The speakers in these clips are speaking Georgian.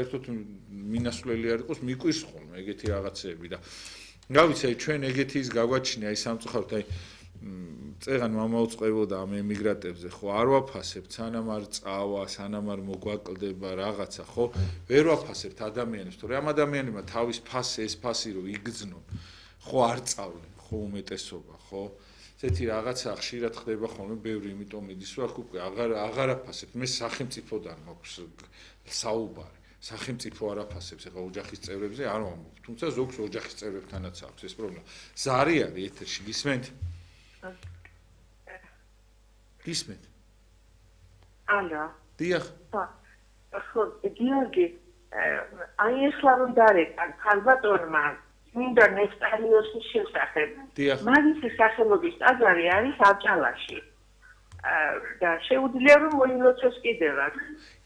ერთოდ მინასვლელი არ იყოს მიკვირს ხოლმე ეგეთი რაღაცეები და რა ვიცი ჩვენ ეგეთი ის გაგვაჩნია აი სამწუხაროდ აი წეღან მომაუწყებოდა ამ ემიგრანტებზე ხო არ ვაფასებთ სანამ არ წავა სანამ არ მოგვაკლდება რაღაცა ხო ვერ ვაფასებთ ადამიანებს თორე ამ ადამიანებმა თავის ფასი ეს ფასი რო იგრძნონ ხო არ წავლენ ხო უმეტესობა ხო ესეთი რაღაცა ხშირად ხდება ხოლმე ბევრი იმიტომ მიდის რომ აქ უკვე აღარ აფასებთ მე სახელმწიფოდან მაქვს საუბარი სახელმწიფო არ აფასებს ეხლა ოჯახის წევრებზე არ ვამბობ თუმცა ზოგს ოჯახის წევრებთანაც აქვს ეს პრობლემა ზარი არის ეთერში გისმენთ გისმენთ ალო დიახ ხო გიორგი აი ეხლა რომ დარეკა ქალბატონმა მინდა ნესტარიოსის შესახებ მაგის სახელობის ტაძარი არის აჭალაში და შეუძლია რომ მოილოცოს კიდევაც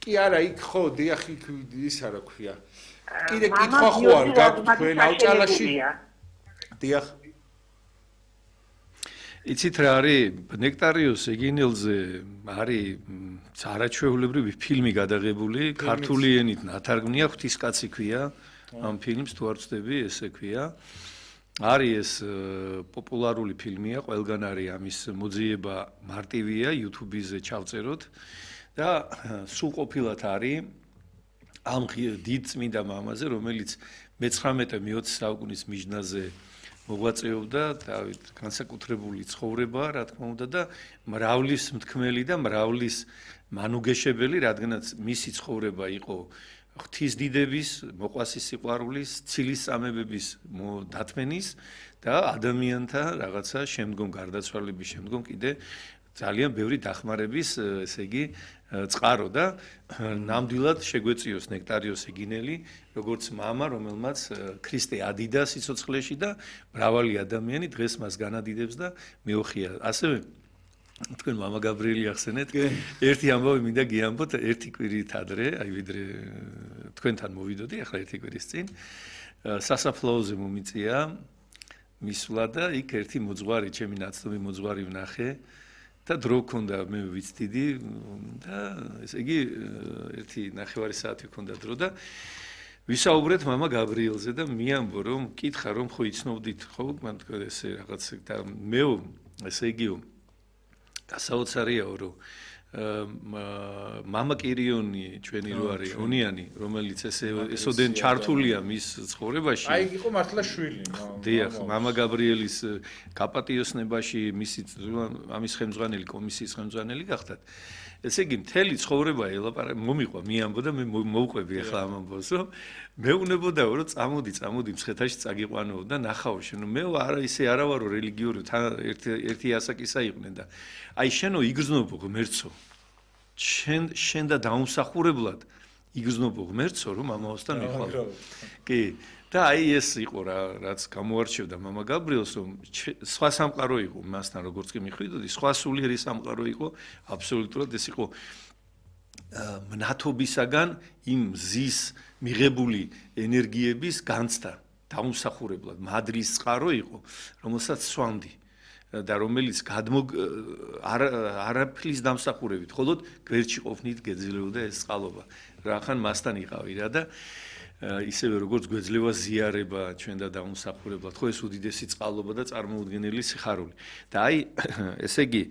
კი არა იქ ხო დიახ იქ ის არა ქვია კიდე კითხვა ხო არ გაქვთ თქვენ აჭალაში დიახ იცით რა არის ნექტარიოს ეგინელზე არის არაჩვეულებრივი ფილმი გადაღებული ქართული ენით ნათარგმნია ღვთისკაცი ქვია ამ ფილმს თუ არ ვწდები ესე ქვია არის ეს პოპულარული ფილმია ყველგან არის ამის მოძიება მარტივია YouTube-ზე ჩავწეროთ და სრულყოფილად არის ამ დიდ წმინდა მამაზე რომელიც მე-19-მე-20 საუკუნის მიჯნაზე მოღვაწეობდა დავით განსაკუთრებული ცხოვრება რა თქმა უნდა და მრავლის მთქმელი და მრავლის მანუგეშებელი რადგანაც მისი ცხოვრება იყო ღვთისდიდების მოყვასის სიყვარულის ცილის წამებების დათმენის და ადამიანთა რაღაცა შემდგომ გარდაცვალების შემდგომ კიდე ძალიან ბევრი დახმარების ესე იგი წყარო და ნამდვილად შეგვეწიოს ნექტარიოს ეგინელი როგორც მამა რომელმაც ქრისტე ადიდა სიცოცხლეში და მრავალი ადამიანი დღეს მას განადიდებს და მეოხია ასევე თქვენ მამა გაბრიელი ახსენეთ ერთი ამბავი მინდა გიამბოთ ერთი კვირით ადრე აი ვიდრე თქვენთან მოვიდოდი ახლა ერთი კვირის წინ სასაფლაოზე მომიწია მისვლა და იქ ერთი მოძღვარი ჩემი ნაცნობი მოძღვარი ვნახე და დრო ქონდა მე ვიცდიდი და ესე იგი ერთი ნახევარი საათი ქონდა დრო და ვისაუბრეთ მამა გაბრიელზე და მიამბო რომ კითხა რომ ხო იცნობდით ხო მან თქვა ესე რაღაც და მე ესე იგიო გასაოცარიაო რომ მამა კირიონი ჩვენი რო არის ონიანი რომელიც ესოდენ ჩართულია მის ცხოვრებაში აი იყო მართლა შვილი დიახ მამა გაბრიელის გაპატიოსნებაში მისი ამის ხელმძღვანელი კომისიის ხელმძღვანელი გახდათ ესე იგი მთელი ცხოვრება ელაპარაკე მომიყვა მიამბო და მე მოვყვები ახლა ამ ამბავს რომ მეუნებოდაო რომ წამოდი მცხეთაში წაგიყვანო და ნახავ შენ მე არა ისე არა ვარო რელიგიური თან ერთი ასაკისა იყვნენ და აი შენო იგრძნობო ღმერთო შენ და დაუმსახურებლად იგრძნობო ღმერთო რომ მამაოსთან მიყვალო კი და აი ეს იყო რა რაც გამოარჩევდა მამა გაბრიელს რომ სხვა სამყარო იყო მასთან როგორც კი მიხვიდოდი სხვა სულიერი სამყარო იყო აბსოლუტურად ეს იყო მნათობისაგან იმ ზის მიღებული ენერგიების განცდა დაუმსახურებლად მადრის წყარო იყო რომელსაც სვამდი და რომელიც არაფრის დამსახურებით მხოლოდ გვერდში ყოფნით გეძლეოდა ეს წყალობა რახან მასთან იყავი რა და ისევე როგორც გვეძლევა ზიარება ჩვენ და დაუმსახურებლად ხო ეს უდიდესი წყალობა და წარმოუდგენელი სიხარული და აი ესე იგი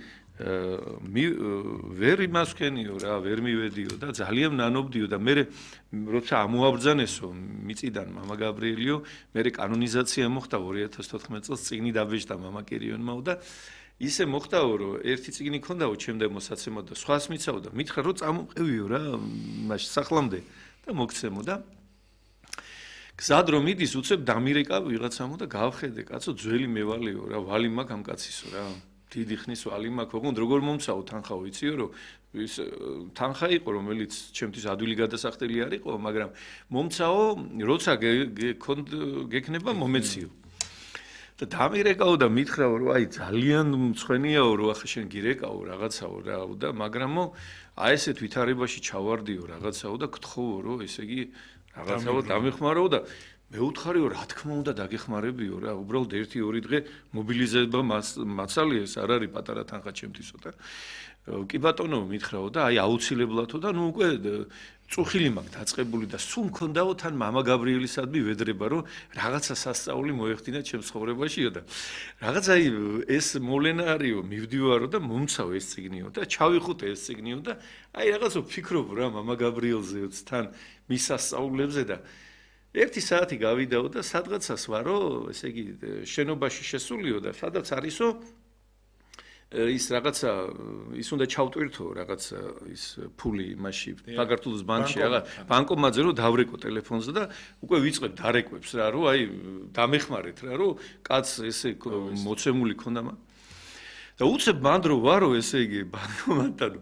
ვერ იმას ვქენიო რა ვერ მივედიო და ძალიან ნანობდიო და მე როცა ამოაბრძანესო მიწიდან მამა გაბრიელიო მე კანონიზაცია მოხდა 2014 წელს წიგნი დაბეჭდა მამა კირიონმა და ისე მოხდაო რომ ერთი წიგნი ქონდაო ჩემდე მოსაცემად და სხვას მიცაო და მითხრა რომ წამოყევიო რა მაშ სახლამდე და მოგცემო და გზად რომ მიდის უცებ დამირეკა ვიღაცამო და გავხედე კაცო ძველი მევალეო რა ვალი მაქვს ამ კაცისო რა დიდი ხნის ვალი მაქვს ოღონდ როგორ მომცაო თანხა ვიციო რომ ის თანხა იყო რომელიც ჩემთვის ადვილი გადასახდელი არ იყო მაგრამ მომცაო როცა გექნება მომეციო და დამირეკაო და მითხრაო რომ აი ძალიან მწვენიაო რომ ახლა შენ გირეკაო რაღაცაო რა და მაგრამო აი ესეთ ვითარებაში ჩავარდიო რაღაცაო და გთხოვო რომ ესე იგი რაღაცაო დამეხმაროო და მე უთხარიო რა თქმა უნდა დაგეხმარებიო რა უბრალოდ 1-2 დღე მობილიზება მასალია ეს არ არის პატარა თანხა ჩემთვისო და კი ბატონო მითხრაო და აი აუცილებლადო და ნუ უკვე წუხილი მაქვს დაწყებული და სულ მქონდაო თან მამა გაბრიელისადმი ვედრება რომ რაღაცა სასწაული მოეხდინა ჩემს ცხოვრებაშიო და რაღაც აი ეს მოვლენა არისო მივდივარო და მომცავ ეს წიგნიო და ჩავიხუტე ეს წიგნიო და აი რაღაცა ვფიქრობ რა მამა გაბრიელზეც თან მის სასწაულებზე და 1 საათი გავიდაო და სადღაცას ვარო ესე იგი შენობაში შესულიო და სადაც არისო ის რაღაცა ის უნდა ჩავტვირთო რაღაც ის ფული მასში საქართველოს ბანკში რაღაც ბანკომატზე რომ დავრეკო ტელეფონზე და უკვე ვიწყებ დარეკვებს რა რომ აი დამეხმარეთ რა რომ კაც ესე მოცემული ქონდა და უცებ მანდრო ვარო ესე იგი ბანკომატთან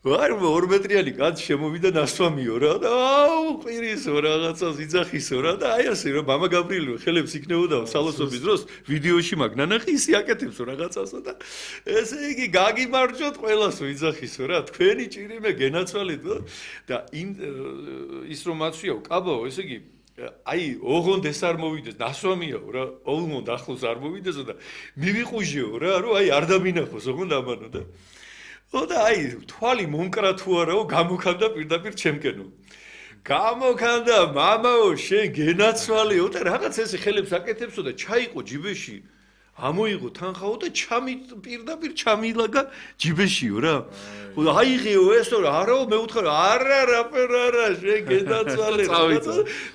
ვარ 2 მეტრიანი კაც შემოვიდა ნასვამიო რა და აუ ყვირისო რაღაცას იძახისო რა და აი ასე რომ მამა გაბრიელი ხელებს იქნებოდა სალოსობის დროს ვიდეოში მაგ ნანახი ისე აკეთებსო რაღაცასო და ესე იგი გაგიმარჯოთ ყველასო იძახისო რა თქვენი ჭირიმე გენაცვალეთ და ის რომ აცვიაო კაბაო ესე იგი აი ოღონდ ეს არ მოვიდეს ნასვამიაო რა ოღონდ ახლოს არ მოვიდესო და მივიყუჟიო რა რომ აი არ დამინახოს ოღონდ ამანო და და აი თვალი მომკრა თუ არაო გამოქანდა პირდაპირ ჩემკენო გამოქანდა მამაო შენ გენაცვალეო და რაღაც ესე ხელებს აკეთებსო და ჩაიყო ჯიბეში ამოიღო თანხაო და პირდაპირ ჩამილაგა ჯიბეშიო რა აიღეო ესო რა არაო მე ვუთხარ არა რა შენ გენაცვალე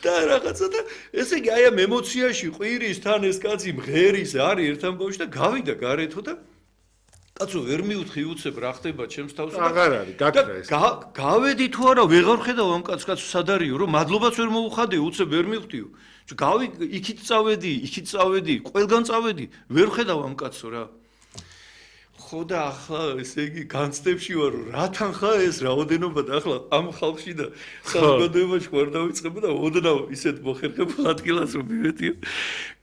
და რაღაცა და ესე იგი აი ამ ემოციაში ყვირის თან ეს კაცი მღერის არის ერთ ამბავში და გავიდა გარეთო და კაცო ვერ მიუთხი უცებ რა ხდება ჩემს თავს და აღარ არის გაქრა ეს გავედი თუ არა ვეღარ ხედავ ამ კაცს სადარიო რომ მადლობაც ვერ მოუხადე უცებ ვერ მივხვდიო იქით წავედი ყველგან წავედი ვერ ხედავ ამ კაცო რა ხო და ახლა ესე იგი განცდებში ვარ რა თანხა ეს რაოდენობა და ახლა ამ ხალხში და საზოგადოებაში ვარ დავიწყებ და ოდნავ ისეთ მოხერხებულ ადგილას რომ მივედიო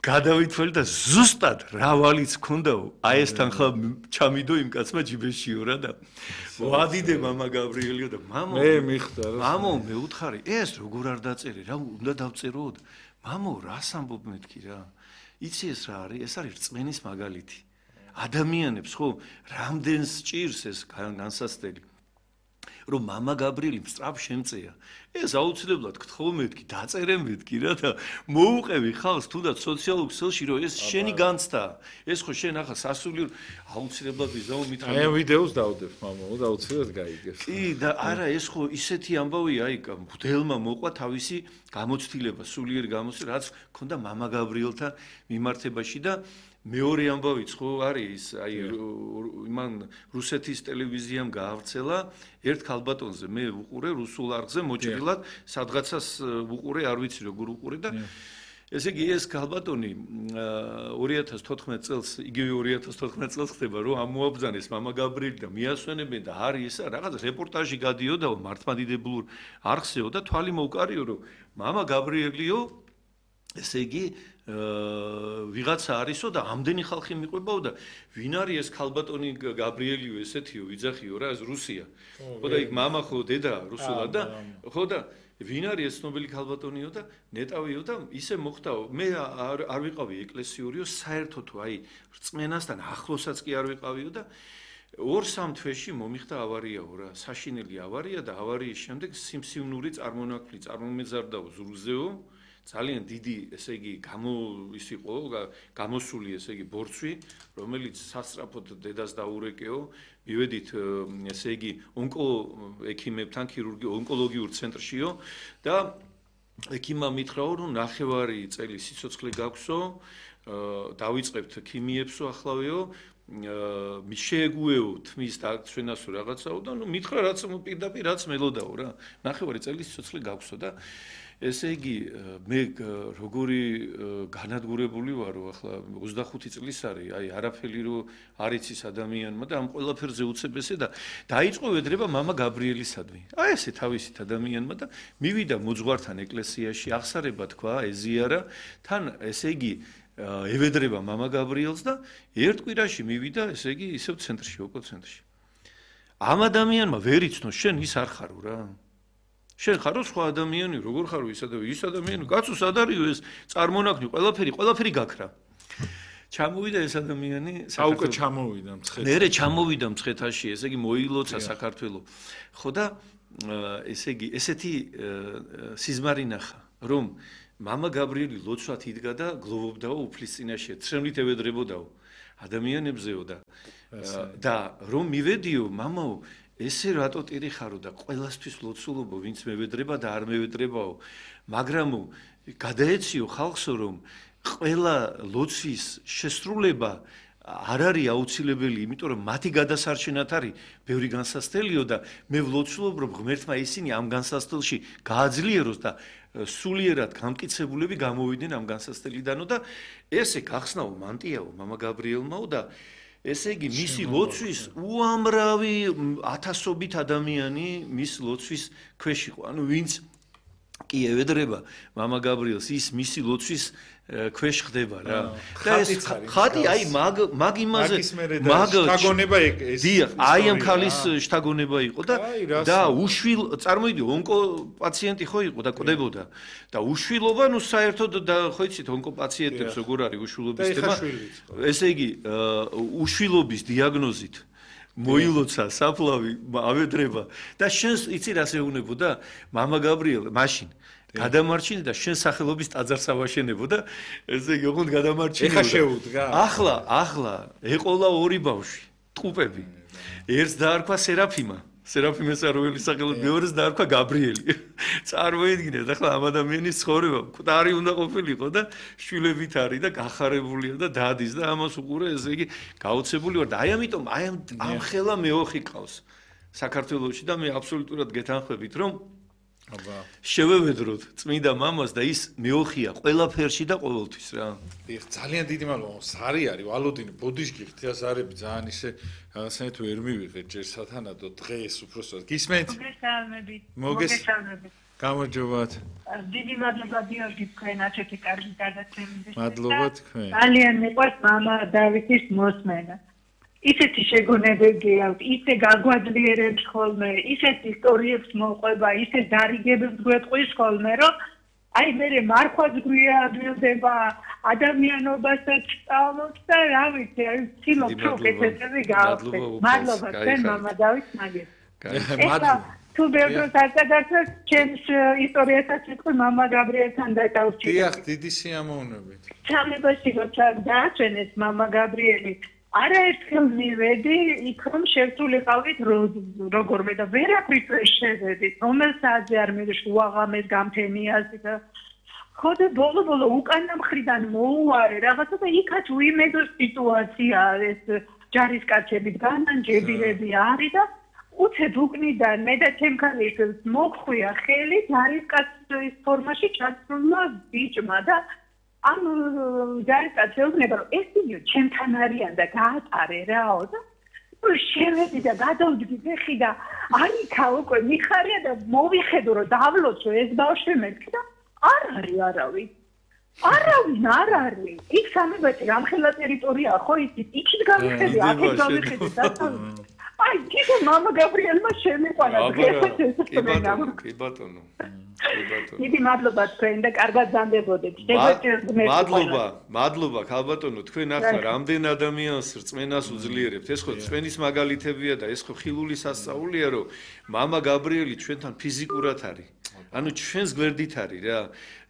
გადავითვალე და ზუსტად რა ვალიც ქონდაო აი ეს თანხა ჩამიდო იმ კაცმა ჯიბეშიო რა და ვადიდე მამა გაბრიელიო და მამო მე მიხვდა რა მამო მე უთხარი ეს როგორ არ დაწერე რა უნდა დავწერო მამო რას ამბობ მეთქი რა იცი ეს რა არის ეს არის რწმენის მაგალითი ადამიანებს ხო რამდენს ჭირს ეს განსასწრელი რომ მამა გაბრიელი სწრაფ შემწეა ეს აუცილებლად გთხოვ მეთქი დაწერე მეთქი რა და მოუყევი ხალხს თუნდაც სოციალურ ქსელში რომ ეს შენი განცდა ეს ხო შენ ახლა სასულიერო აუცილებლად ვიზაო მითხრა აი ამ ვიდეოს დავდებ მამაო და აუცილებლად გაიგებს კი და არა ეს ხო ისეთი ამბავია აი მღვდელმა მოყვა თავისი გამოცდილება სულიერი გამოცდილება რაც ქონდა მამა გაბრიელთან მიმართებაში და მეორე ამბავიც ხო არის აი იმან რუსეთის ტელევიზიამ გაავრცელა ერთ ქალბატონზე მე ვუყურე რუსულ არხზე მოჭრილად სადღაცას ვუყურე არ ვიცი როგორ ვუყურე და ესე იგი ეს ქალბატონი 2014 წელს იგივე 2014 წელს ხდება რომ ამოაბრძანეს მამა გაბრიელი და მიასვენებენ და არის ესა რაღაც რეპორტაჟი გადიოდაო მართლმადიდებულ არხზეო და თვალი მოვკარიო რომ მამა გაბრიელიო ესე იგი ვიღაცა არისო და ამდენი ხალხი მიყვებაო და ვინ არის ეს ქალბატონი გაბრიელიო ესეთიო ვიძახიო რა ეს რუსია ხო და იქ მამა ხო დედა რუსულად და ხო და ვინ არის ეს ცნობილი ქალბატონიო და ნეტავიო და ისე მოხდაო მე არ ვიყავი ეკლესიურიო საერთოდ აი რწმენასთან ახლოსაც კი არ ვიყავიო და 2-3 თვეში მომიხდა ავარიაო რა საშინელი ავარია და ავარიის შემდეგ სიმსივნური წარმონაქმნი წარმომეზარდაო ზურგზეო ძალიან დიდი ესე იგი ის იყო გამოსული ესე იგი ბორცვი რომელიც სასწრაფოდ დედას დაურეკეო მივედით ესე იგი ექიმებთან ონკოლოგიურ ცენტრშიო და ექიმმა მითხრაო რომ 9 წელი სიცოცხლე გაქვსო დავიწყებთ ქიმიებსო ახლავეო შეეგუეო თმის დაცვენასო რაღაცაო და ნუ მითხრა რაც პირდაპირ რაც მელოდაო რა 9 წელი სიცოცხლე გაქვსო და ესე იგი მე როგორი განადგურებული ვარო ახლა 25 წლის არის აი არაფერი რო არ იცის ადამიანმა და ამ ყველაფერზე უცებ ესე და დაიწყო ვედრება მამა გაბრიელისადმი აი ესე თავისით ადამიანმა და მივიდა მოძღვართან ეკლესიაში აღსარება თქვა ეზიარა თან ესე იგი ევედრება მამა გაბრიელს და ერთ კვირაში მივიდა ესე იგი ისევ ცენტრში ოკო ცენტრში ამ ადამიანმა ვერ იცნო შენ ის არ ხარო რა შენ ხარო სხვა ადამიანი როგორ ხარო ის ადამიანი კაცო სად არისო ეს წარმონაქმნი ყველაფერი გაქრა ჩამოვიდა ეს ადამიანი საუკე ჩამოვიდა მცხეთაში მერე ჩამოვიდა მცხეთაში ესე იგი მოილოცა საქართველო ხო და ესე იგი, ესეთი სიზმარი ნახა, რომ მამა გაბრიელი ლოცვად იდგა და გლოვობდაო უფლის წინაშე, ცხენით ევედრებოდაო ადამიანებზეო და რომ მივედიო, მამაო, ესე რატო ტირი ხარო და ყველასთვის ლოცულობო, ვინც მევედრება და არ მევედრებაო, მაგრამ გადაეციო ხალხსო, რომ ყველა ლოცვის შესრულება არ არის აუცილებელი, იმიტომ რომ მათი გადასარჩენად არის ბევრი განსასწელიო და მე ვლოცულობ, რომ ღმერთმა ისინი ამ განსასწელში გააძლიეროს და სულიერად გამტკიცებულები გამოვიდნენ ამ განსასწელიდანო და ესე გახსნაო მანტიაო მამა გაბრიელმაო და ესე იგი მისი ლოცვის უამრავი ათასობით ადამიანი მის ლოცვის ქვეშ იყო. ანუ ვინც კი ევედრება მამა გაბრიელს ის მისი ლოცვის ქვეშ ხდება რა. და ეს ხატი აი მაგ იმაზე მაგ შთაგონება ეს დიახ, აი ამ ქალის შთაგონება იყო და უშვილ წარმოიდი ონკო პაციენტი ხო იყო და კვდებოდა და უშვილობა ნუ საერთოდ და ხო იცით ონკო პაციენტებს როგორ არის უშვილობის თემა. ესე იგი უშვილობის დიაგნოზით მოილოცა საფლავი ავედრება და შენს იცი რა შეუნებოდა მამა გაბრიელ მაშინ გადამარჩინე და შენ სახელობის ტაძარს ავაშენებო და ესე იგი ოღონდ გადამარჩინე. ეხა შეუდგა. ახლა ეყოლა ორი ბავშვი, ტყუპები. ერთს დაარქვა სერაფიმა. სერაფიმეს აროელი სახელով, მეორეს დაარქვა გაბრიელი. წარმოიდგინეთ, ახლა ამ ადამიანის ცხოვრება მკვდარი უნდა ყოფილიყო და შვილებით არის და გახარებულია და დადის და ამას უყურე, ესე იგი გაოცებული ვარ და აი ამიტომ აი ამ ხელა მეოხი ყავს საქართველოში და მე აბსოლუტურად გეთანხმებით, რომ შევევედროთ წმინდა მამას და ის მეოხია ყველაფერში და ყოველთვის რა. ეხ ძალიან დიდი მადლობა. სარი არის ვალოდინი ბოდიშკი ღთიასარები ძალიან ისე რაღაცნაირად ვერ მივიღეთ ჯერ სათანადო დღეს უბრალოდ გისმენთ? მოგესალმებით. გამარჯობათ. დიდი მადლობა გიორგი თქვენ ასეთი კარგი გადაცემის. მადლობა თქვენ. ძალიან მიყვარს მამა დავითის მოსმენა. ისეთი შეგონებები აქვს, ისე გაგვაძლიერებს ხოლმე, ისეთ ისტორიებს მოყვება, ისე დარიგებებს გვეტყვის ხოლმე, რომ აი მე მარხვაც გვიადვილდება, ადამიანობასაც სწავლობს და რა ვიცი, აი ცდილობ რომ ესეთი გავხდეთ. მადლობა თქვენ მამა დავით მაგეთ. მადლობა. თუ ბევრს არ დაგაცეთ, ჩემს ისტორიასაც ვიტყვი მამა გაბრიელთან დაკავშირებით. დიახ, დიდი სიამოვნებით. სამებაში როცა დააჩვენეს მამა გაბრიელი არაერთხელ მივედი იქ რომ შევსულიყავით როგორმე და ვერაფრით ვერ შევედით რომელ საათზე არ მივედი უაღამეს გამთენიაზე და ხოდა ბოლო უკანა მხრიდან მოუარე რაღაცა და იქაც უიმედო სიტუაცია ეს ჯარისკაცებით განანჯებირები არის და უცებ უკნიდან მე და ჩემქალის მოგხვია ხელი ჯარისკაცის ფორმაში ჩასრულმა ბიჭმა და ამ ჯარისკაცს ეუბნება რომ ეს ვიდეო ჩემთან არიან და გაატარე რაო და შევედი და გადავდგი ფეხი და არიქა უკვე მიხარია და მოვიხედო რომ დავლოცო ეს ბავშვი მეთქი და არ არის არავინ არ არის იქ სამებაში გამხელა ტერიტორია ხო იცით იქით გამიხედი აქეთ გამიხედი და აი თვითონ მამა გაბრიელმა შემიყვანა კი ბატონო დიდი მადლობა თქვენ და კარგად ზამდებოდეთ. მადლობა ქალბატონო, თქვენ ახლა რამდენ ადამიანს რწმენას უძლიერებთ. ეს ხო რწმენის მაგალითებია და ეს ხო ხილული სასწაულია, რომ მამა გაბრიელი ჩვენთან ფიზიკურად არის. ანუ ჩვენს გვერდით არის რა.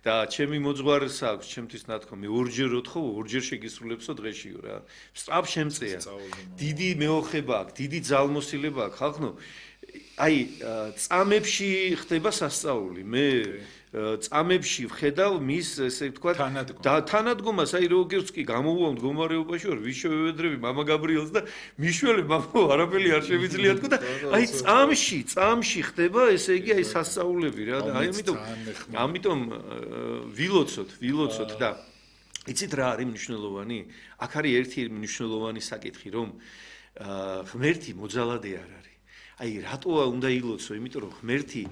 და ჩემი მოძღვარს აქვს, ჩემთვის ნათქვამი ორჯერ ოთხო, ორჯერ შეგისრულებსო დღეშიო რა. სწრაფ შემწეა. დიდი მეოხება აქვს, დიდი ძალმოსილება აქვს ხალხო. აი წამებში ხდება სასწაული. მე წამებში ვხედავ მის ესე ვთქვათ თანადგომას, აი როგორც კი გამოვუვა მდგომარეობაში ვარ, ვიშევედრები მამა გაბრიელს და მიშველე მამა არაფერი არ შევიძლია თქო და აი წამში ხდება ესე იგი აი სასწაულები რა და აი ამიტომ ვილოცოთ და იცით რა არის მნიშვნელოვანი? აქ არის ერთი მნიშვნელოვანი საკითხი, რომ ღმერთი მოძალადე არ არის. აი რატოა უნდა ილოცო? იმიტომ რომ ღმერთი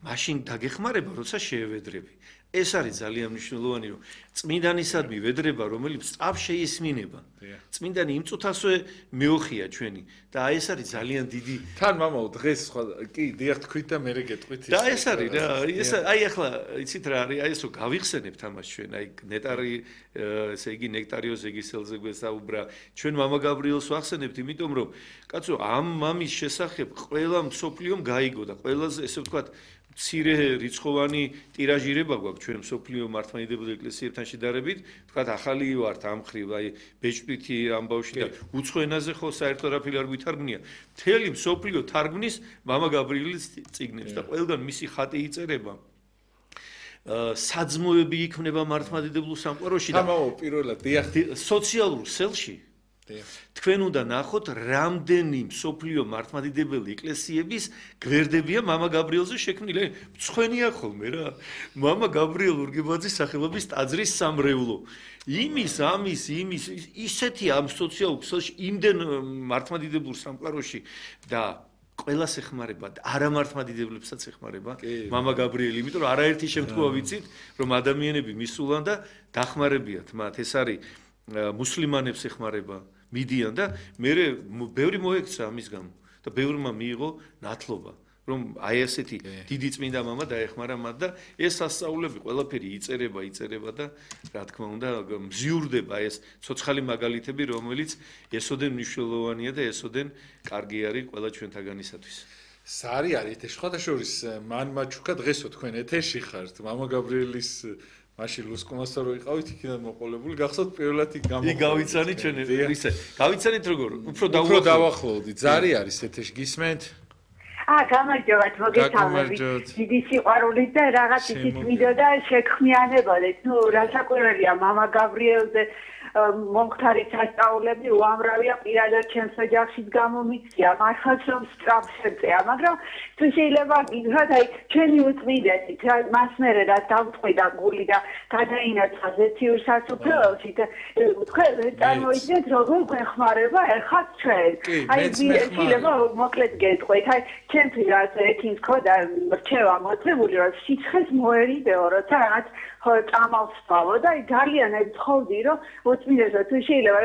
მაშინ დაგეხმარება, როცა შეევედრები. ეს არის ძალიან მნიშვნელოვანი, რომ წმინდანისადმი ვედრება, რომელიც სწრაფ შეისმინება. წმინდანი იმ წუთასვე მეოხია ჩვენი და აი ეს არის ძალიან დიდი. თან მამაო დღეს სხვა კი დიახ თქვით და მე გეტყვით და ეს არის რა, ეს აი ახლა იცით რა არის, აი ეს რო გავიხსენებთ ამას ჩვენ, აი ნეტარი, ესე იგი ნექტარიოს ეგისელზე გვესაუბრა, ჩვენ მამა გაბრიელს ვახსენებთ, იმიტომ რომ კაცო ამ მამის შესახებ ყველა მსოფლიომ გაიგო და ყველაზე ესე ვთქვათ მცირე რიცხოვანი ტირაჟირება გვაქვს ჩვენ მსოფლიო მართლმადიდებლურ ეკლესიებთან შედარებით, ვთქვათ ახალი ვართ ამ ხრივ, აი ბეჭდვითი ამბავში და უცხო ენაზე ხო საერთოდ არაფერი არ გვითარგმნია. მთელი მსოფლიო თარგმნის მამა გაბრიელის წიგნებს და ყველგან მისი ხატი იწერება. საძმოები იქმნება მართლმადიდებლურ სამყაროში და პირველად დიახ სოციალურ სელში თქვენ უნდა ნახოთ რამდენი მსოფლიო მართლმადიდებელი ეკლესიების გვერდებია მამა გაბრიელზე შექმნილი. მწვენია ხოლმე რა. მამა გაბრიელ ურგებაძის სახელობის ტაძრის სამრევლო. იმის ისეთი ამ სოციალურ ქსელში იმდენ მართლმადიდებლურ სამყაროში და ყველას ეხმარება და არამართლმადიდებლებსაც ეხმარება მამა გაბრიელი, იმიტომ რომ არაერთი შემთხვევა ვიცით, რომ ადამიანები მისულან და დახმარებიათ მათ. ეს არის მუსლიმანებს ეხმარება, მიდიან და მე ბევრი მოექცა ამის გამო და ბევრმა მიიღო ნათლობა, რომ აი ესეთი დიდი წმინდა მამა დაეხმარა მათ და ეს სასწაულები ყველაფერი იწერება და რა თქმა უნდა მზიურდება ეს ცოცხალი მაგალითები, რომელიც ესოდენ მნიშვნელოვანია და ესოდენ კარგი არის ყველა ჩვენთაგანისათვის. სარი არის ეს შეხოთაშორის მან მაჩუკა დღესო თქვენ ეთერში ხართ მამა გაბრიელის მაშინ ლუსკომასა რო იყავით იქიდან მოყოლებული გახსოვთ პირველად იქ გავიცანით ჩვენ ისე გავიცანით როგორ უფრო დავახლოვდით ზარი არის ეთერში გისმენთ გამარჯობათ მოგესალმებით დიდი სიყვარულით და რაღაც ისიც მიდოდა შექმნიანებოდეთ ნუ რასაკვირველია მამა გაბრიელზე მომხდარი სასწაულები უამრავია პირადად ჩემს ოჯახშიც გამომიწია მართლაც რომ სწრაფ შეწეა მაგრამ თუ შეიძლება გითხრათ აი ჩვენი უწმინდესით მას მერე რა დავწყვიდა გული და გადაინაცხა ზეციურ სასუფეველში და თქვენ წარმოიდგინეთ როგორ გვეხმარება ეხლა ჩვენ აი შეიძლება მოკლედ გეტყვით აი ჩემთვის რაც ეთინს ქოდა რჩევა მოწმებული რომ სიცხეს მოერიდეო როცა რაღაც წამალს ვსვავო და ძალიან ეთხოვდი რომ უწმინდესო თუ შეიძლება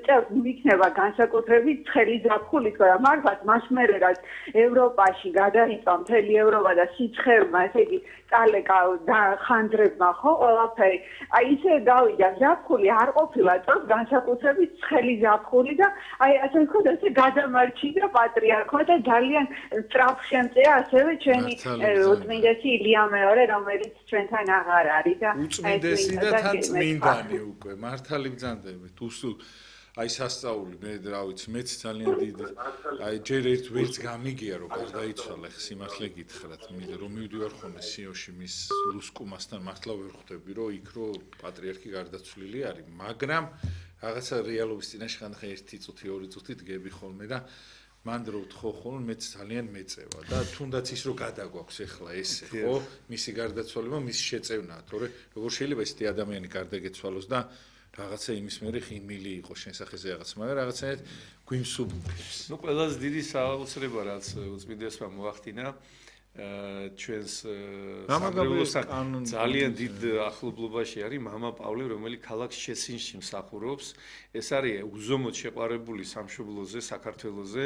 წელს მიქნება განსაკუთრებით ცხელი ზაფხული თქო მართლაც მას მერე რაც ევროპაში გადაიწვა მთელი ევროპა და სიცხერმა ესე იგი წალეკა და ხანძრებმა ხო ყველაფერი აი ისე გავიდა ზაფხული არ ყოფილა წელს განსაკუთრებით ცხელი ზაფხული და აი ასე ვთქვათ ესე გადამარჩიდა პატრიარქმა და ძალიან სწრაფ შემწეა ასევე ჩვენი უწმინდესი ილია მეორე რომელიც ჩვენთან აღარ არის და უწმინდესი და თან წმინდანი უკვე მართალი ბრძანდებით უსულ აი სასწაული მე რა ვიცი მეც ძალიან დიდი აი ჯერ ერთ ვერც გამიგია რომ გარდაიცვალა ხ სიმართლე გითხრათ მე რომ მივდივარ ხოლმე სიოში მის ლუსკუმასთან მართლა ვერ ხვდები რომ იქ რო პატრიარქი გარდაცვლილი არის მაგრამ რაღაცა რეალობის წინაშე ხანდახან 1 წუთი 2 წუთი დგები ხოლმე და მან რო ვთხოვ ხოლმე მეც ძალიან მეწევა და თუნდაც ის რო გადაგვაქვს ახლა ესე ხო მისი გარდაცვალება მისი შეწევნაა თორე როგორ შეიძლება ესეთი ადამიანი გარდაგეცვალოს და რაღაცა იმის მერე ხიმილი იყო შენ სახეზე რაღაც მაგრამ რაღაცნაირად გვიმსუბუქებს ნუ ყველაზე დიდი საოცრება რაც უწმინდესმა მოახდინა ჩვენს სამრევლოსთან ძალიან დიდ ახლობლობაში არის მამა პავლე რომელიც ქალაქ შეცინში მსახურობს ეს არის უზომოდ შეყვარებული სამშობლოზე საქართველოზე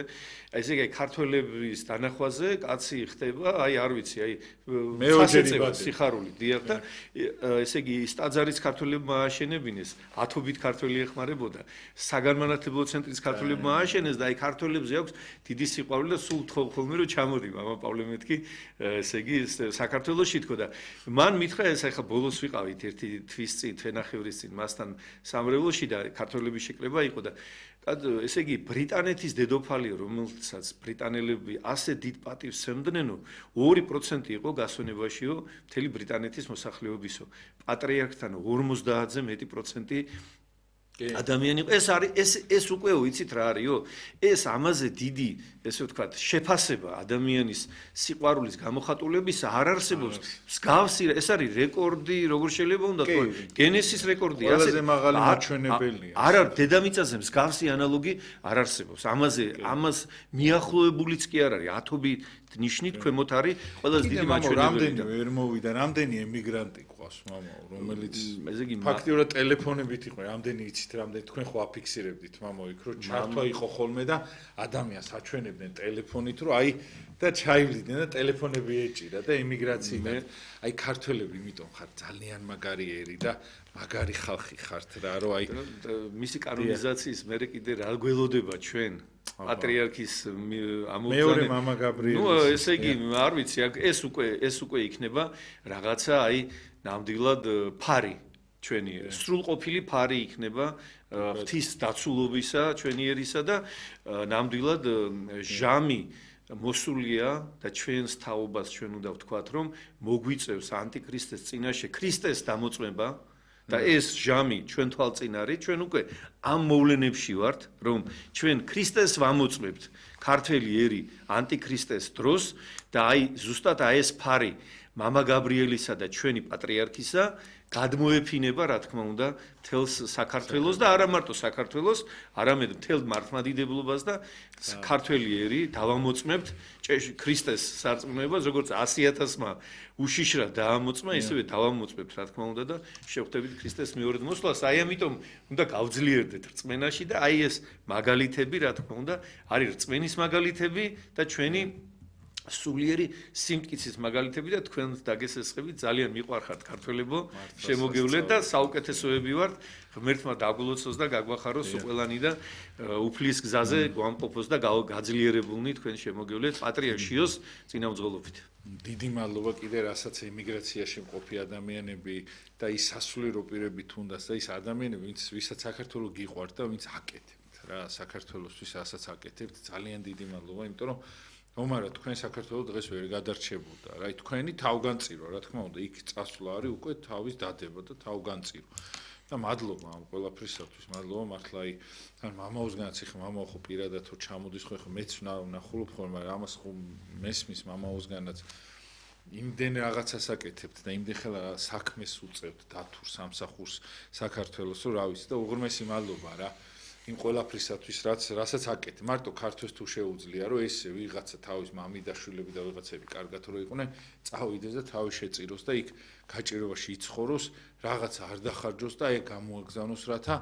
ესე იგი ქართველების დანახვაზე კაცი ხდება აი არ ვიცი აი მეოჯერება სიხარული დიახ და ესე იგი ის ტაძარიც ქართველებმა ააშენებინეს ათობით ქართველი ეხმარებოდა საგანმანათლებლო ცენტრის ქართველებმა ააშენეს და აი ქართველებზე აქვს დიდი სიყვარული და სულ თხოვ ხოლმე რომ ჩამოდი მამა პავლე მეთქი ესე იგი საქართველოში თქო და მან მითხრა ეს ახლა ბოლოს ვიყავით ერთი თვის წინ თვენახევრის წინ მასთან სამრევლოში და ქართველების შეკრება იყო და ესე იგი ბრიტანეთის დედოფალი რომელსაც ბრიტანელები ასე დიდ პატივს სცემდნენო 2% იყო გასვენებაშიო მთელი ბრიტანეთის მოსახლეობისო პატრიარქთან 50-ზე მეტი პროცენტი ადამიანი ეს უკვე ვიცით რა არისო ეს ამაზე დიდი ესე ვთქვათ შეფასება ადამიანის სიყვარულის გამოხატულებისა არ არსებობს მსგავსი ეს არის რეკორდი როგორ შეიძლება უნდა თქვა გენესის რეკორდი ყველაზე მაღალი მაჩვენებელია არა დედამიწაზე მსგავსი ანალოგი არ არსებობს ამას მიახლოებულიც კი არ არის ათობით ნიშნით ქვემოთ არის ყველაზე დიდი მაჩვენებელი რამდენი ვერ მოვიდა რამდენი ემიგრანტი ყავს მამაო რომელიც ფაქტიურად ტელეფონებით იყო რამდენი იცით რამდენი თქვენ ხო აფიქსირებდით მამაო იქ რომ ჩართვა იყო ხოლმე და ადამიანს აჩვენებდნენ ტელეფონით რომ აი და ჩაივლიდნენ და ტელეფონები ეჭირა და ემიგრაციიდან აი ქართველები იმიტომ ხარ ძალიან მაგარი ერი და მაგარი ხალხი ხართ რა რომ აი მისი კანონიზაციის მერე კიდე რა გველოდება ჩვენ პატრიარქის ამოგვიანებით მეორე მამა გაბრიელი ნუ ესე იგი არ ვიცი ეს უკვე იქნება რაღაცა აი ნამდვილად ფარი ჩვენი სრულყოფილი ფარი იქნება ღვთის დაცულობისა ჩვენი ერისა და ნამდვილად ჟამი მოსულია და ჩვენს თაობას ჩვენ უნდა ვთქვათ რომ მოგვიწევს ანტიქრისტეს წინაშე ქრისტეს დამოწმება და ეს ჟამი ჩვენ თვალწინ არის ჩვენ უკვე ამ მოვლენებში ვართ რომ ჩვენ ქრისტეს ვამოწმებთ ქართველი ერი ანტიქრისტეს დროს და აი ზუსტად ეს ფარი მამა გაბრიელისა და ჩვენი პატრიარქისა გადმოეფინება რა თქმა უნდა თელს საქართველოს და არა მარტო საქართველოს არამედ თელ მართლმადიდებლობას და ქართველი ერი დავამოწმებთ ქრისტეს სარწმუნოებას როგორც 100,000-მა უშიშრად დაამოწმა ისევე დავამოწმებთ რა თქმა უნდა და შევხვდებით ქრისტეს მეორედ მოსვლას აი ამიტომ უნდა გავძლიერდეთ რწმენაში და აი ეს მაგალითები რა თქმა უნდა არის რწმენის მაგალითები და ჩვენი სულიერი სიმტკიცის მაგალითები და თქვენ დაგესესხებით ძალიან მიყვარხართ ქართველებო შემოგევლეთ და საუკეთესოები ვართ ღმერთმა დაგულოცოს და გაგვახაროს ყველანი და უფლის გზაზე გვამყოფოს და გაძლიერებულნი თქვენ შემოგევლეთ პატრიარქ შიოს წინამძღოლობით დიდი მადლობა კიდე რასაც ემიგრაციაში მყოფი ადამიანები და ის სასულიერო პირები თუნდაც და ის ადამიანები ვისაც საქართველოს გიყვართ და ვინც აკეთებთ რა საქართველოსთვის რასაც აკეთებთ ძალიან დიდი მადლობა იმიტომ რომ omara თქვენ საქართველოს დღეს ვერ გადარჩებოდა რა თქვენი თავგანწირვა რა თქმა უნდა იქ წასვლა არის უკვე თავის დადება და თავგანწირვა და მადლობა ამ ყველაფრისათვის მადლობა მართლა აი თან მამაოსგანაც ეხა მამაო ხო პირადად ხო ჩამოდის ხო ეხა მეც ვნახულობ ხოლმე მაგრამ ამას ხო მესმის მამაოსგანაც იმდენ რაღაცას აკეთებთ და იმდენ ხელა საქმეს უწევთ დათურ სამსახურს საქართველოს რომ რა ვიცი და უღრმესი მადლობა რა იმ ყველაფრისათვის რასაც აკეთე მარტო ქართოს თუ შეუძლია რომ ესე ვიღაცა თავის მამიდაშვილები და ვიღაცები კარგად რო იყვნენ წავიდეს და თავი შეწიროს და იქ გაჭირებაში იცხოვროს რაღაცა არ დახარჯოს და აი გამოაგზავნოს რათა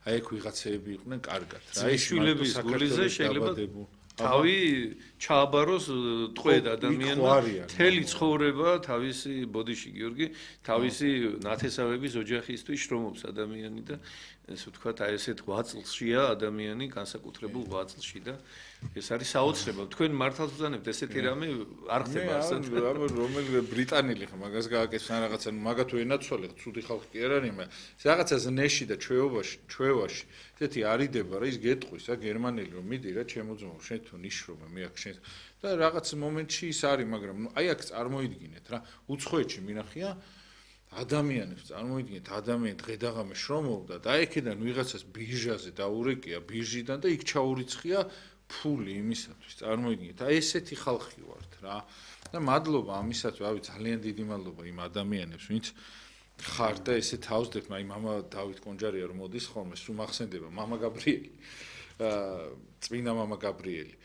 აი ეგ ვიღაცები იყვნენ კარგად რა ეს შვილების გულიზე შეიძლება თავი ჩააბაროს ტყვედ ადამიანმა მთელი ცხოვრება თავისი ბოდიში გიორგი თავისი ნათესავების ოჯახისთვის შრომობს ადამიანი და ესე ვთქვათ აი ესეთ 8 წლშია ადამიანი განსაკუთრებულ 8 წლში და ეს არის საოცრება თქვენ მართალ ვზანებთ ესეთი რამე არ ხდება ასეთ რომელი ბრიტანელი ხა მაგას გააკეთეს ან რაღაცა მაგათ ვენაცვალე ცუდი ხალხი კი არ არის მაგრამ რაღაცა ზნეში და ჩვევაში ესეთი არიდება რა ის გეტყვის რა გერმანელი რომ მიდი რა ჩემო ძმაო შენ თუ ნიშრობე მე აქ შენ და რაღაც მომენტში ის არის მაგრამ აი აქ წარმოიდგინეთ რა უცხოეთში მინახია ადამიანებს წარმოიდგინეთ ადამიანი დღედაღამე შრომობდა და აქედან ვიღაცას ბირჟაზე დაურეკია ბირჟიდან და იქ ჩაურიცხია ფული იმისათვის წარმოიდგინეთ აი ესეთი ხალხი ვართ რა და მადლობა ამისათვის რავი ძალიან დიდი მადლობა იმ ადამიანებს ვინც ხარ და ესე თავსდებთ აი მამა დავით კონჯარია რომ მოდის ხოლმე სულ მახსენდება მამა გაბრიელი წმინდა მამა გაბრიელი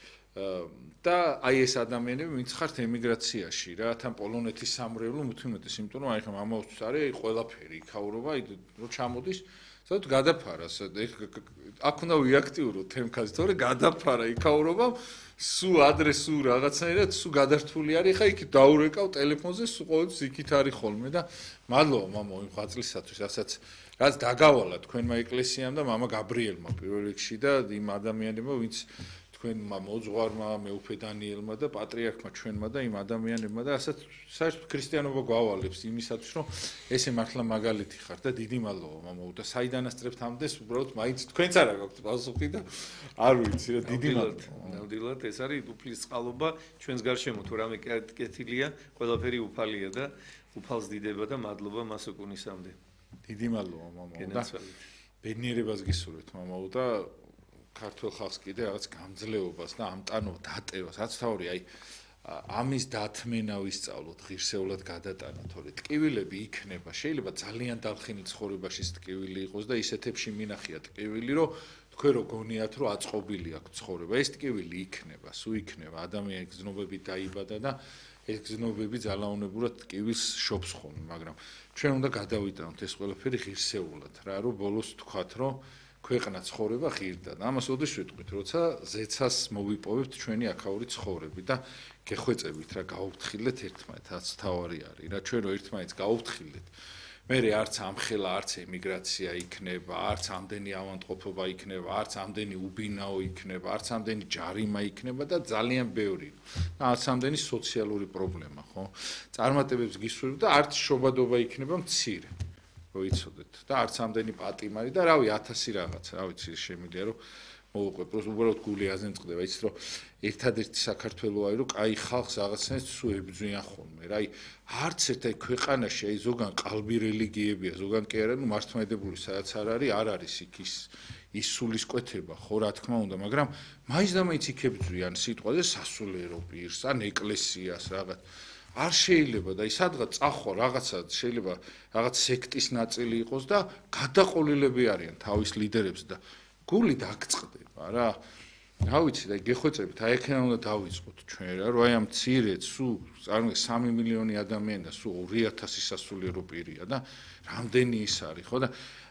და აი ეს ადამიანები ვინც ხართ ემიგრაციაში რა თან პოლონეთის სამრევლო მithumეტეს იმიტომ რომ აი ხა მამაოსთვის არის ყველაფერი იქაურობა აი რო ჩამოდის სადაც გადაფარას აქ უნდა ვიაქტიუროთ თემქაზე თორე გადაფარა იქაურობა სუ ადრესუ რაღაცნაირად სუ გადართული არის ხა იქ დაურეკავ ტელეფონზე სუ ყოველთვის იქით არის ხოლმე და მადლობა მამაო იმ ღვაწლისათვის რაც დაგავალა თქვენმა ეკლესიამ და მამა გაბრიელმა პირველ რიგში და იმ ადამიანებმა ვინც თქვენმა მოძღვარმა მეუფე დანიელმა და პატრიარქმა ჩვენმა და იმ ადამიანებმა და ასაც საერთოდ ქრისტიანობა გვავალებს იმისათვის რომ ესე მართლა მაგალითი ხარ და დიდი მადლობა მამაო და საიდანასწრებთ ამდენს უბრალოდ მაინც თქვენც არა გაქვთ პასუხი და არ ვიცი რა დიდი მადლობა ნამდვილად ეს არის უფლის წყალობა ჩვენს გარშემო თუ რამე კეთილია ყველაფერი უფალია და უფალს დიდება და მადლობა მას უკუნისამდე დიდი მადლობა მამაო და ბედნიერებას გისურვებთ მამაო და ქართულ ხალხს კიდე რაღაც გამძლეობას და ამტანო დატევას, რაც თავი აი ამის დათმენა ვისწავლოთ, ღირსეულად გადატანა, თორე ტკივილები იქნება, შეიძლება ძალიან დალხინი ცხოვრებაში ტკივილი იყოს და ისეთებში მინახია ტკივილი, რომ თქვენ რო გონიათ, რომ აწყობილი აქვს ცხოვრება, ეს ტკივილი იქნება, სულ იქნება, ადამიანის გზნობები დაიბადა და ეს გზნობები ძალაუნებურად ტკივილს შობს ხოლმე, მაგრამ ჩვენ უნდა გადავიტანოთ ეს ყველაფერი ღირსეულად, რა რომ ბოლოს თქვათ, რომ ქვეყნა ცხოვრება ღირდა და ამას ოდეშ ვიტყვით, როცა ზეცას მოვიპოვებთ ჩვენი აქაური ცხოვრები და გეხვეწებით რა გაუფრთხილეთ ერთმანეთს, რაც თავარი არის, რა ჩვენ რო ერთმანეთს გაუფრთხილეთ. მერე არც ამხელა, არც ემიგრაცია იქნება, არც ამდენი ავადმყოფობა იქნება, არც ამდენი უბინაო იქნება, არც ამდენი ჯარიმა იქნება და ძალიან ბევრი. არც ამდენი სოციალური პრობლემა, ხო? წარმატებებს გისურვებთ და არც შობადობა იქნება მცირე. რო იცოდეთ და არც ამდენი პატიმარი და რავი 1000 რაღაცა, რა ვიცი, შემიძლია რომ მოვუყვებ, უბრალოდ გული აზენწყდება, იცით რომ ერთადერთი საქართველო არის, რომ კაი ხალხს რაღაცნაირად სულ ებრძვიან ხოლმე, რა, არც ერთ ქვეყანაში აი ზოგან ყალბი რელიგიებია, ზოგან კი არა, ნუ მართლმადიდებლური სადაც არ არის იქ ის სულისკვეთება, ხო, რა თქმა უნდა, მაგრამ მაინც და მაინც იქ ებრძვიან სიტყვაზე სასულიერო პირს, ან ეკლესიას რაღაც არ შეიძლება და სადღაც წახვა რაღაცა შეიძლება რაღაც სექტის ნაწილი იყოს და გადაყოლილები არიან თავის ლიდერებს და გული დაგწყდება რა. რა ვიცი და გეხვეწებით, აი აქედან უნდა დავიწყოთ ჩვენ რა, რომ აი ამ მცირედ სულ 3 მილიონი ადამიანი და სულ 2000 სასულიერო პირია და რამდენი ის არის, ხო და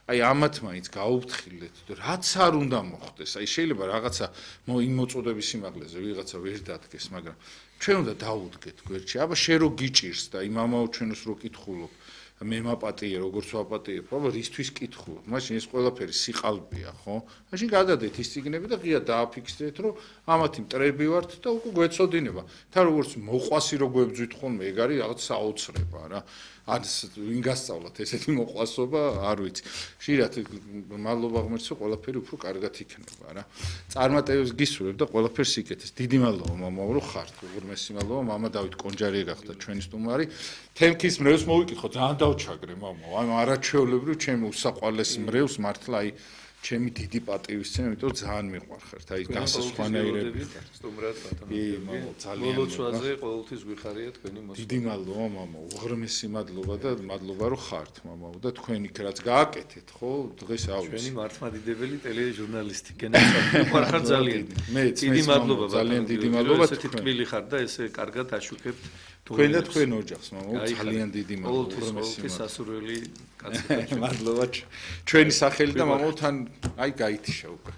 აი ამათ მაინც გაუფრთხილეთ, რაც არ უნდა მოხდეს. აი შეიძლება რაღაცა იმ მოწოდების სიმაღლეზე ვიღაცა ვერ დადგეს, მაგრამ ჩვენ უნდა დავუდგეთ გვერდში. აბა შენ რო გიჭირს და იმ ამაო ჩვენს რო კითხულობ, მე მაპატიე, როგორც ვაპატიებ, აბა რისთვის კითხულობ? მაშინ ეს ყველაფერი სიყალბეა, ხო? მაშინ გადადეთ ის ციგნები და ღია დააფიქსირეთ, რომ ამათი მტრები ვართ და უკვე გვეწოდინება. თან როგორც მოყვასი რო გვებძვით ხოლმე, ეგ არის რაღაც საოცრება რა. ან ვინ გასწავლათ ესეთი მოყვასობა, არ ვიცი. ხშირად მადლობა ღმერთსო, ყველაფერი უფრო კარგად იქნება რა. წარმატებებს გისურვებ და ყველაფერს იკეთეს. დიდი მადლობა მამაო, რომ ხართ. უღრმესი მადლობა, მამა დავით კონჯარი გახდა ჩვენი სტუმარი. თემქის მრევლს მოვიკითხო, ძალიან დავჩაგრე მამაო. აი არაჩვეულებრივ ჩემი უსაყვარლეს მრევლს მართლა აი ჩემი დიდი პატივისცემა, იმიტომ რომ ძალიან მიყვარხართ. აი განსასვანაირები. სტუმრად ბატონო. ძალიან მოლოცვაზე ყოველთვის გვიხარია თქვენი მოსვლა. დიდი მადლობა მამაო, უღრმესი მადლობა და მადლობა რომ ხართ მამაო და თქვენ იქ რაც გააკეთეთ, ხო? დღეს ავიც. ჩვენი მართლმადიდებელი ტელეჟურნალისტი გენაცვალე მიყვარხარ ძალიან. დიდი მადლობა ძალიან დიდი მადლობა. ესეთი თბილი ხარ და ესე კარგად აშუქებთ თქვენ და თქვენ ოჯახს მამაო, ძალიან დიდი მადლობა. უღრმესი სასურველი კაცი. მადლობა ჩვენი სახელი და მამაო თან აი გაითიშა უკვე.